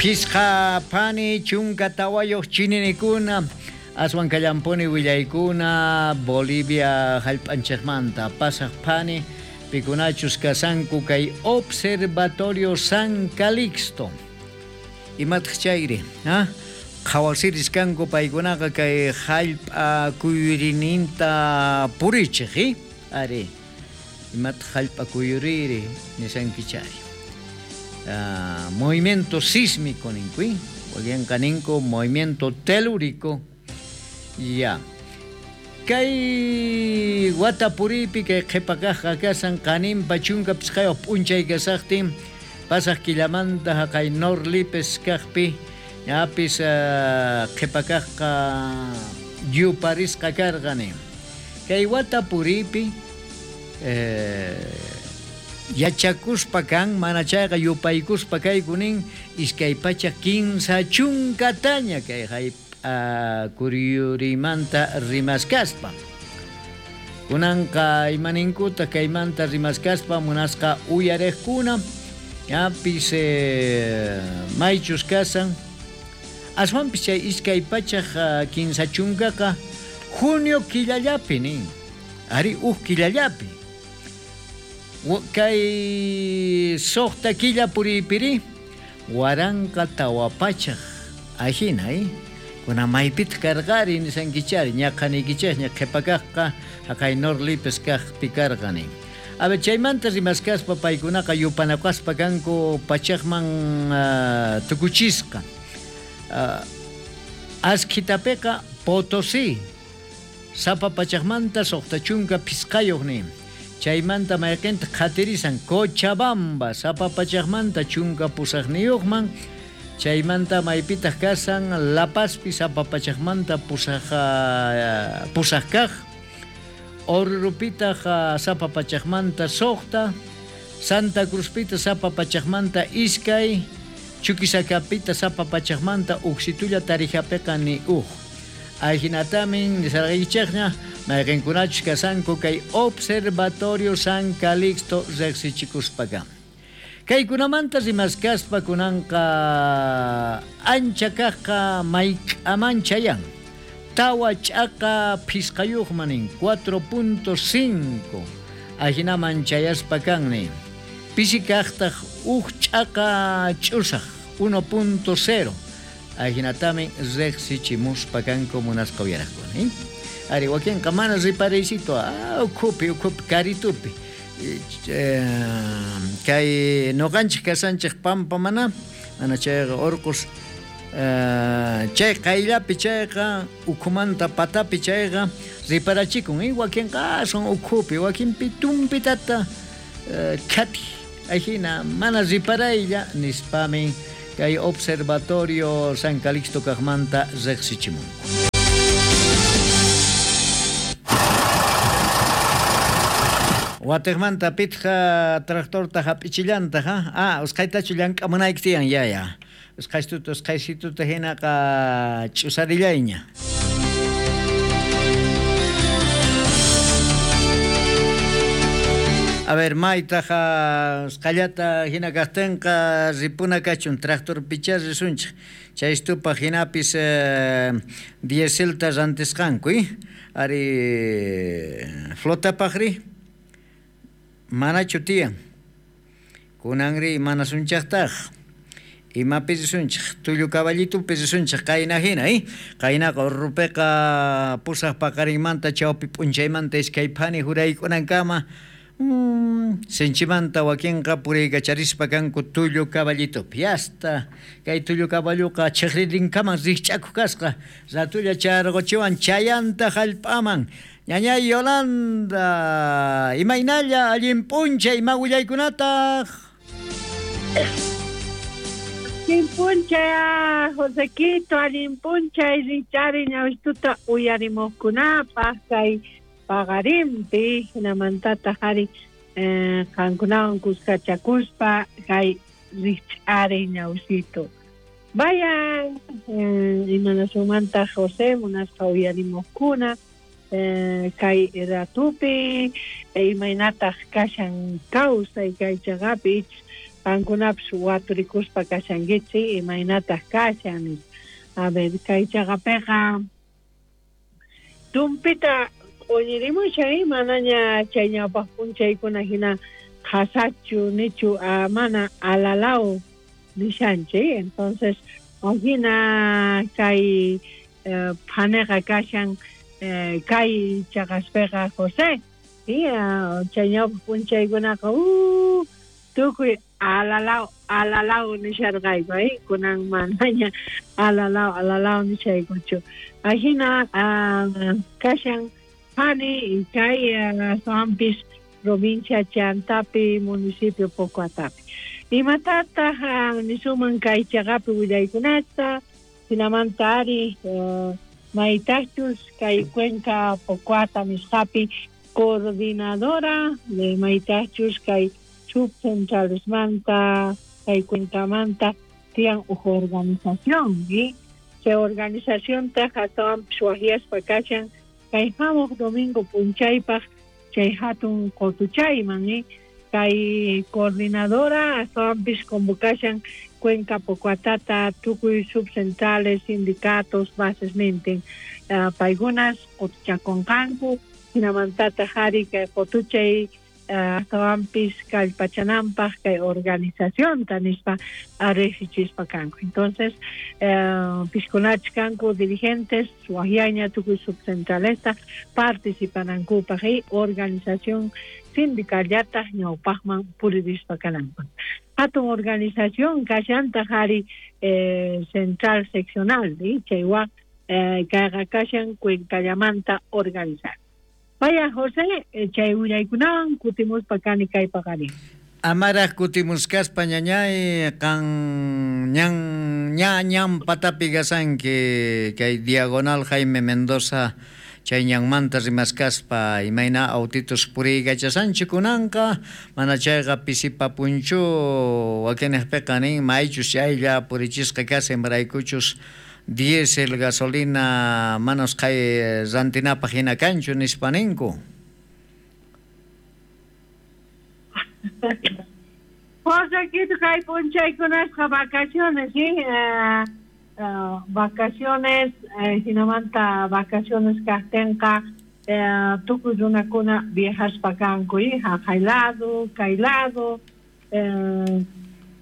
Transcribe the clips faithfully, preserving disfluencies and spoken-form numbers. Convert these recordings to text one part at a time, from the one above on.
Phisqa phani chunka tawayuq chininikuna aswan kallampuni willaykuna Bolivia hallp'anchikmanta pasaq phani pikunachus kasanku kay Observatorio San Calixto. Imataq chayri, ha? Qhawasiris kanku paykunaqa kay hallp'a kuyurininta purichiq, eh? Ari, imataq hallp'a kuyuriri nisankichari. Uh, movimiento sísmico ninku, wakinqa ninku movimiento telúrico. Ya. Kay wata puripi kay qhipakaqqa kasan qaninpa chunka phisqayuq p'unchay kasaqtin pasaq killamanta haqay Norlipes kaqpi ñapis uh, qhipakaqqa yuparisqa karqani. Kay wata puripi eh, yachakuspa kan mana chayqa yupaykuspa kaykunin iskay pachak kinsa chunkataña kay hallp'a kuyurimanta rimaskaspa. Kunanqa imaninkuta kaymanta rimaskaspa munasqa uyariqkuna ñapis eh, maychus kasan aswanpis chay iskay pachak kinsa chunkaqa junio killallapi nin, ari uj killallapi. Kay suqta killa puripiri waranqa tawa pachak ajina, eh? Kuna maypitaq karqari nisankichari ñaqaniykichikña qhipakaqqa haqay Norlipes kaqpi karqani. A ver, chaymanta rimaskaspa paykunaqa yupanakaspa kanku pachakman uh, tukuchisqa. Uh, askhitapiqa Potosí sapa pachakmanta suqta chunka phisqayuq nin. Chaymanta mayqinta qhatirisan Cochabamba sapa pachakmanta chunka pusaqniyuqman. Chaymanta maypitaq kasan La Pazpi sapa pachakmanta pusaq uh, pusaq kaq. Orurupitaq uh, sapa pachakmanta suqta. Santa Cruzpita sapa pachakmanta iskay. Chuquisacapita sapa pachakmanta uksitulla Tarijapiqa ni uj. Ajinatamin nisarqaykichikña mayqinkunachus kasanku kay Observatorio San Calixto riqsichikuspaka. Kaykunamanta rimaskaspa kunanqa ancha kaqqa mayk'aman chayan. Tawa ch'aqa phisqayuqman nin cuatro punto cinco ajinaman chayaspa kan nin. Pisi kaqtaq uj ch'aqa ch'usaq uno punto cero ajinatamin riqsichimuspa kanku munasqa uyaraqkuna, eh? Ari wakinqa mana riparaycito, ah, ukhupi ukhupi karitupi eh, kay nuqanchik kasanchik pampa mana mana chayqa urqus eh, chay qayllapi chayqa ukhumanta patapi chayqa riparachikun, eh? Wakinqa son ukhupi wakinpi tumpitata eh, khati ajina mana riparaylla nispamin kay Observatorio San Calixto kaqmanta riqsichimunku. Watiqmanta pitqa tractorta hap'ichillantaq, ha? Ah, usqhaytachu llank'amunayki tiyan, yaya. Usqhaystuta usqhaysituta hinaqa ch'usarillayña. A ver, maytaqa usqhayllata hina kaqtinqa ripuna kachun tractor pichá risunchik. Chaystupaq hinapis eh, dieselta rantisqanku, eh? Ari flotapaqri manachu tiyan. Kunanri mana sunchaqtaq. Imapi risunchik, tullu caballitupi risunchik qayna hina, eh? Qaynaqa urrupiqa pusaq paqarinmanta chawpi p'unchaymanta iskay phani huraykunankama Mm, sinchimanta wakinqa puriykacharispa kanku tullu caballitupi. Hasta kay tullu caballuqa chiqririnkaman rikch'akuq kasqa. Ratulla charquchiwan chayanta hallp'aman. Ñañay Yolanda, imaynalla allin p'unchay ima willaykunataq? Allin p'unchay Josequito, allin p'unchay richari ñawistuta uyarimuqkunapaq kay paqarinpi hinamantataq ari eh, qankunawan kuskachakuspa kay rich'ari ñawsito. Vayan eh, imanasumanta José munasqa uyarimuqkuna eh, kay ratupi imaynataq kashan kawsay kay chaqapi Qankunapis waturikuspa kashankichik imaynataq kashan. A ver, kay chaqapiqa tumpita q'uñirimushan, manaña chay ñawpaq p'unchaykuna hina qhasachu nichu mana alalaw nishanchik. Entonces ajina kay phaneqa kashan kay chaqaspiqa José. Y chay ñawpaq p'unchaykunaqa uh tukuy alalaw alalaw nisharqayku, eh kunan manaña alalaw alalaw nishaykuchu. Ajina kashan phani kay astawanpis provincia Chantapi, municipio Pocoatapi. Imatataq nisuman kay chaqapi willaykunata, hinamanta ari maytaqchus kay Cuenca Pocoata nisqapi coordinadora de maytaqchus kay subcentralesmanta kay Cuencamanta tiyan uj organización, ¿sí? Chay organizaciontaq astawanpis wajyaspa kashan kay hamuq domingo p'unchaypaq chay hatun qutuchayman, ¿eh? Kay coordinadora astawanpis convocashan Cuenca Pocoatata tukuy subcentrales, sindicatos, bases nintin uh, paykunas qutuchakunqanku hinamantataq ari kay qutuchay astawanpis kallpachananpaq kay organizacionta nispa riqsichispa kanku. Entonces piskunachik kanku dirigentes wajyaña tukuy subcentralesta participanankupaq y organización sindicallataq ñawpaqman puririspa kananpaq. Hatun organización kashantaq ari eh, central seccional, ¿sí? Chaywan eh, kayqa kashan Cuencallamanta organizar. Vaya José, chay willaykunawan kutimuspa kani kay paqarin. Amaraq kutimuskaspa ñañay qan ñan ña ñan patapi kasanki kay diagonal Jaime Mendoza chay ñanmanta rimaskaspa imayna autitos puriykachasanchik kunanqa mana chayqa pisipapunchu wakinejpiqa nin maychus chaylla purichisqa kashan imaraykuchus diésel, gasolina manos kay rantinapaq hina kanchu nispa ninku. José, kay p'unchaykunasqa vacaciones, ¿sí? Uh, uh, vacaciones, eh, hinamanta vacaciones kaqtinqa eh, tukuy runakuna viajaspa kanku, ¿sí? Haqay lado, kay lado, eh,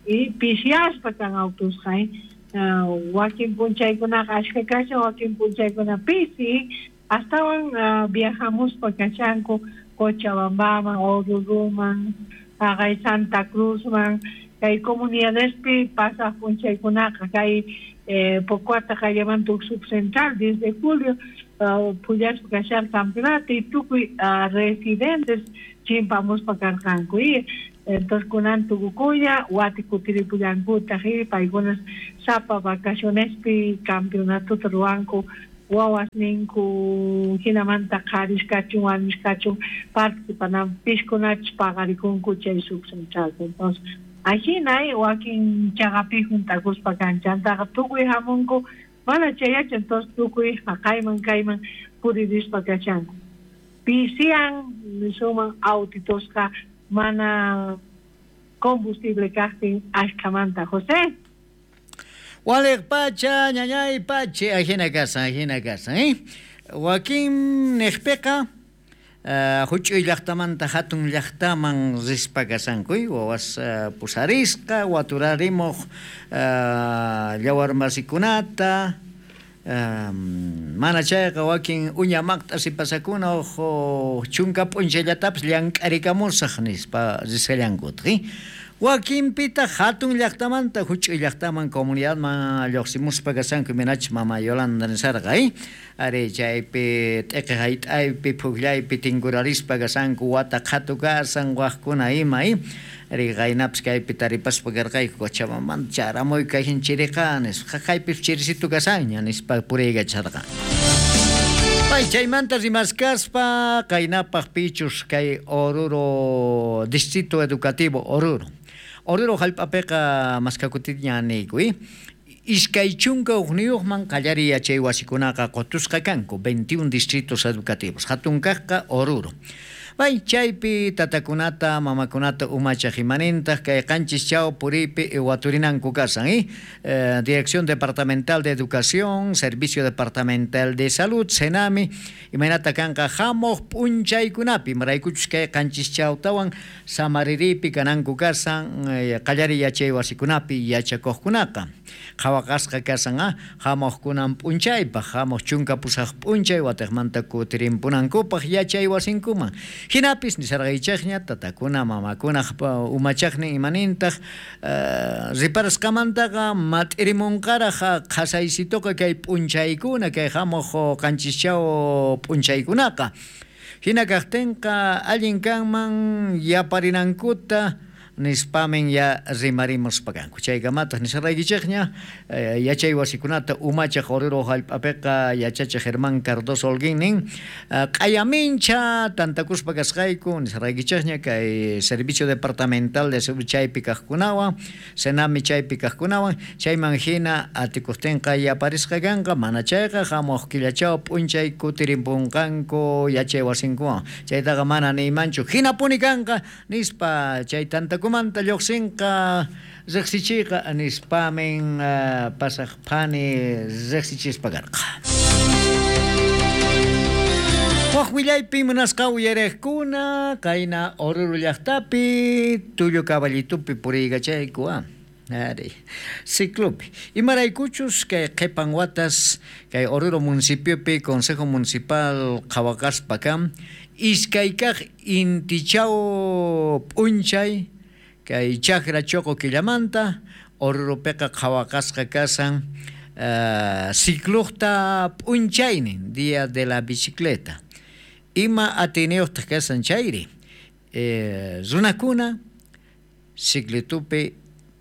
y pishiaspa kan autusqa, ¿eh? Uh, wakin p'unchaykunaqa ashka kashan, wakin p'unchaykuna pisi, astawan uh, viajamuspa kashanku Cochabambaman, Oruruman, haqay Santa Cruzman, kay comunidadespi pasaq p'unchaykunaqa kay eh, Pocoata qallamanta huk subcentral desde julio uh, pullaspa kasharqa campeonato y tukuy uh, residentes chimpamuspa karqanku. Y entonces kunan tukukuña wati kutiripullankutaj y paykunas sapa vacacionespi campeonatota ruwanku wawas ninku hinamanta qharis kachun warmis kachun participanan piskunachus paqarikunku chay subcentralpi. Entonces ajina wakin chaqapi juntakuspa kanchantaqa tukuy hamunku mana chayachu, entonces tukuy haqayman kayman puririspa kashanku. Pisian nisuman autitosqa mana combustible kaqtin ashkamanta, José. Waliq pacha, ñañay pache, ajina kasan, ajina kasan, eh? Wakin niqpiqa uh, huch'uy llaqtamanta hatun llaqtaman rispa kasanku, wawas uh, pusarisqa, waturarimuq uh, llawarmasikunata, um, mana chayqa wakin uña maqt'a sipasakuna uj chunka p'unchallatapis llank'arikamusaq nispa risqallankutaq, eh? Wakinpitaq hatun llaqtamanta huch'uy llaqtaman comunidadman lluqsimuspa kasanku imaynachus mama Yolanda nisarqa, eh? Ari chaypi t'iqi hayt'aypi puqllaypi tinkurarispa kasanku wata qhatu kasan waqkuna ima, eh? Ari qaynapis kaypi taripaspa karqayku Cochabambamanta charamuy kayhin chiriqa nispa qaqaypis chirisitu kasanña nispa puriykacharqa. Pay chaymanta rimaskaspa qaynapaq pichus kay Oruro Distrito Educativo Oruro. Oruro hallp'apiqa maskakutiña niyku, eh? Iskay chunka hukniyuqman qallariy yachay wasikunaqa qutusqa kanku veintiún distritos educativos. Hatun kaqqa Oruro. Bay chaypi tatakunata mamakunata umachaj imanintaq kay qanchis chaw puriypi waturinanku kasan eh? Eh, Dirección Departamental de Educación, Servicio Departamental de Salud, Senami, imaynata kanqa hamuq p'unchaykunapi imaraykuchus kay qanchis chawtawan samariripi kananku kasan eh, qallariy yachay wasikunapi yachakuqkunaqa qhawaqasqa kasan ah, hamuqkunan p'unchaypaq hamuq chunka pusaq p'unchay watiqmanta kutirimpunankupaq yachay wasinkuman hinapis nisarqaychaqña tatakuna mamakuna umachaqnin imanintaq uh, riparasqamantaqa mat'irimunqaraq qhasaysituqa kay p'unchaykuna kay hamuq qanchischaw p'unchaykunaqa hina kaqtinqa allin kanman yaparinankuta nispamin ya rimarimuspa kanku chaykamataq nisarqaykichikña eh, yachay wasikunata umachaq Oruro hallp'apiqa yachachiq Germán Cardoso Holguín nin q'ayamincha tantakuspa kasqayku nisarqaykichikña kay Servicio Departamental de Salud chaypi kaqkunawan Senami chaypi kaqkunawan chayman hina atikuqtinqa yaparisqa kanqa mana chayqa hamuq killachaw p'unchay kutirimpunqanku yachay wasinkuwan chaytaqa mana niymanchu hinapuni kanqa nispa chay tantaku manta lluqsinqa riqsichiyqa nispamin uh, pasaq phani riqsichispa karqa. Waq willaypi munasqa uyariqkuna kayna Oruro llaqtapi tullu caballitupi puriykachayku ah. Ari, ciclopi. Imaraykuchus kay qhipan watas kay Oruro municipiopi Consejo Municipal qhawaqaspa kan iskay kaq intichaw p'unchay kay chakra choqo killamanta Oruropiqa qhawaqasqa kasan uh, cicluqta p'unchaynin día de la bicicleta ima atiyniyuqtaq kasan chayri eh, runakuna ciclitupi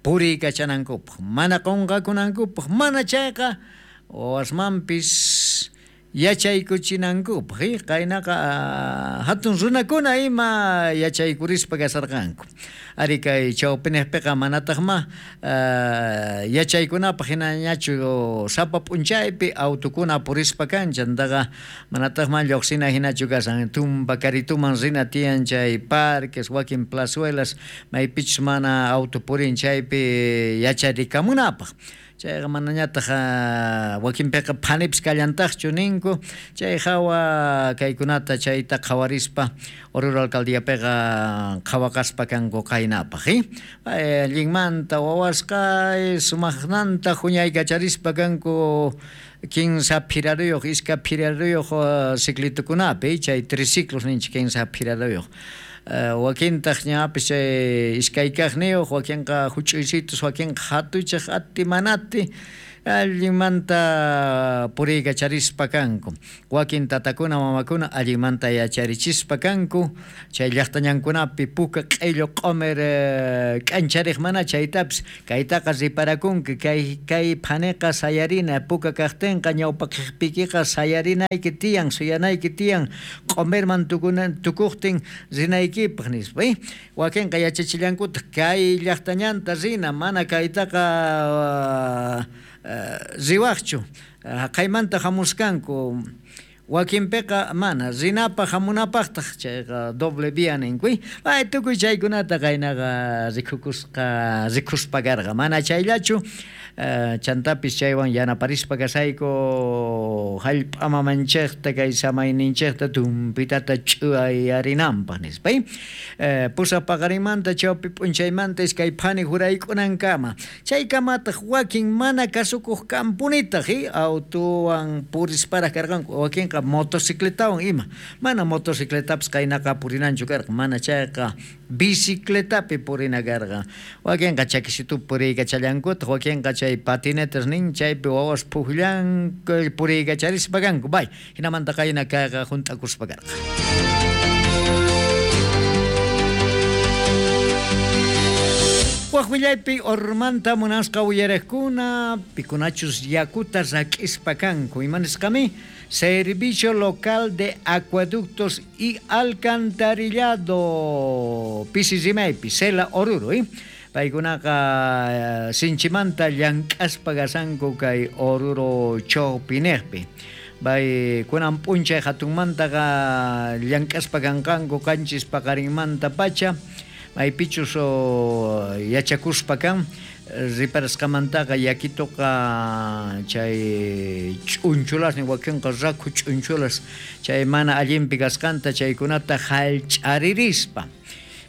puriykachanankupaq mana qunqakunankupaq mana chayqa wasmanpis yachaykuchinankupaq eh? Qaynaqa hatun runakuna ima yachaykurispa kasarqanku ari kay chawpiniqpiqa manataqma uh, yachaykunapaq hinañachu sapa p'unchaypi autukuna purispa kan chantaqa manataqma lluqsina hinachu kasan tumpa karituman rina tiyan chay parques wakin plazuelas maypichus mana auto purin chaypi yacharikamunapaq chayqa manañataq wakinpiqa phanipis kallantaqchu ninku chay hawa kaykunata chayta qhawarispa Oruro alcaldiapiqa qhawaqaspa kanku qaynapaq eh? Allinmanta wawasqa sumaqnanta huñaykacharispa kanku kinsa phiraruyuq iska phiraruyuq ciclitukunapi chay triciclos ninchik kinsa phiraruyuq Uh, wakintaq ñapis chay iskay kaqniyuq wakinqa huch'uysitus wakinqa hatuchaq ati manati allinmanta puriykacharispa kanku wakin tatakuna mamakuna allinmanta yacharichispa kanku chay llaqtañankunapi puka q'illu q'umir k'anchariq mana chaytapis kaytaqa riparakunki kay kay phaniqa sayarina puka kaqtinqa ñawpaqpikiqa sayarinayki tiyan suyanayki tiyan q'umirman tukuna tukuqtin rinaykipaq nispa eh? Wakinqa yachachillankutaq kay llaqtañanta rina mana kaytaqa uh, riwaqchu haqaymanta hamuskanku wakinpiqa mana rinapaq hamunapaqtaq chayqa doble vía ninku ay tukuy chaykunata qaynaqa rikukusqa rikuspa karqa mana chayllachu chantapis chaywan yanaparispa kasayku hallp'a mamanchikta kay samayninchikta tumpitata ch'uyarinanpaq nispa pusaq paqarinmanta chawpi p'unchaymanta iskay phani hurayk'unankama chaykamataq wakin mana kasukuq kampunitaq autuwan purisparaq karqanku wakinqa motocicletawan ima mana motocicletapis qaynaqa purinanchu karqa mana chayqa bicicletapi purina karqa wakinqa chakisitupi puriykachallankutaj wakinqa chay patinetas nin chaypi wawas puqllanku puriykacharispa kanku bay hinamanta qayna kayqa hunt'akuspa karqa. Waq willaypi Ormanta munasqa uyariqkuna pikunachus yakuta rak'ispa kanku imanisqami Servicio Local de Acueductos y Alcantarillado pisi rimaypi Sela Oruro eh? Paykunaqa sinchimanta llank'aspa kasanku kay Oruro chawpinejpi Bay kunan p'unchay hatunmantaqa llank'aspa kanqanku qanchis paqarinmanta pacha maypichus yachakuspa kan riparasqamantaqa yakituqa chay ch'unchulasnin wakinqa rakhu ch'unchulas chay mana allinpi kasqanta chaykunata hallch'aririspa.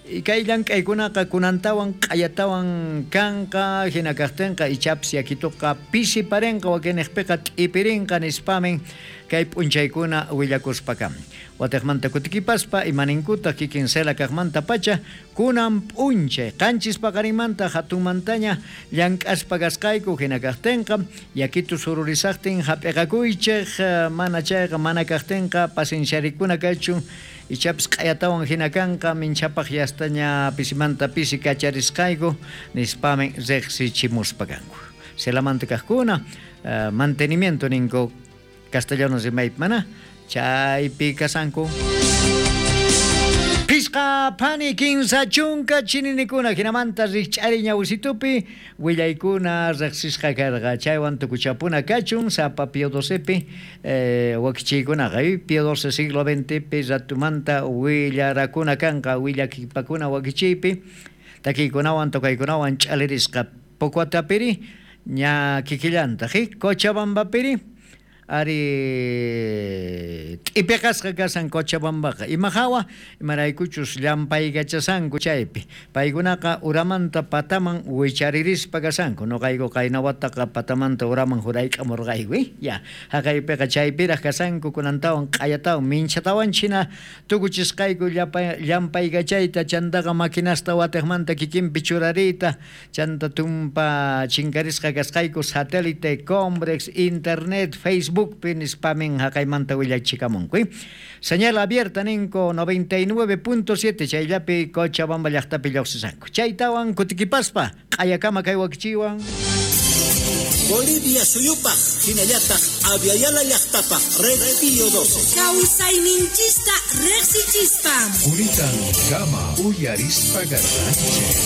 Kay llank'aykunaqa kunantawan q'ayatawan kanqa hina kaqtinqa ichapis yakituqa pisiparinqa wakinniqpiqa t'ipirinqa nispamin kay p'unchaykuna willakuspa kan. Watiqmanta kutikipaspa imaninkuta kikin Sela kaqmanta pacha kunan p'unchay qanchis paqarinmanta hatunmantaña llank'aspa kasqayku hina kaqtinqa yakitu sururisaqtin hap'iqakuychik mana chayqa mana kaqtinqa pacienciarikuna kachun ichapis q'ayatawan hina kanqa minchapaq yastaña pisimanta pisi kacharisqayku nispamin riqsichimuspa kanku. Selamanta kaqkuna uh, mantenimiento ninku castellano rimaypi mana chaypi kasanku. Pisqa phani kinsa chunka chininikuna hinamanta rikch'ari ñawisitupi willaykuna riqsisqa karqa chaywan tukuchapuna kachun sapa Pío docepi eh, wakichiykunaqa Pío doce siglo veintepi ratumanta willarakuna kanqa willakipakuna wakichiypi takiykunawan tokaykunawan ch'alirisqa Pocuatapiri ña kikillantaq Cochabambapiri ari t'ipiqasqa kasan Cochabambaqa ima hawa imaraykuchus llampaykachasanku chaypi paykunaqa uramanta pataman wicharirispa kasanku noqayku qaynawataqa patamanta uraman hurayk'amurqayku ya haqaypiqa chaypiraq kasanku kunantawan q'ayatawan minchatawan china tukuchisqayku llampaykachayta chantaqa maquinasta watiqmanta kikinpi churariyta chanta tumpa chinkarisqa kasqayku satélite Combrex internet Facebook nispamin haqaymanta willachikamunku. Señal abierta ninko noventa y nueve punto siete chayllapi Cochabamba llaqtapi lluqsisanku. Chaytawan kutikipaspa q'ayakama kay wakichiwan. Bolivia suyupaq hinallataq Aviala llaqtapaq Red Pío doce. Kawsayninchista riqsichispa. Unitan kama uyarispa garranchik.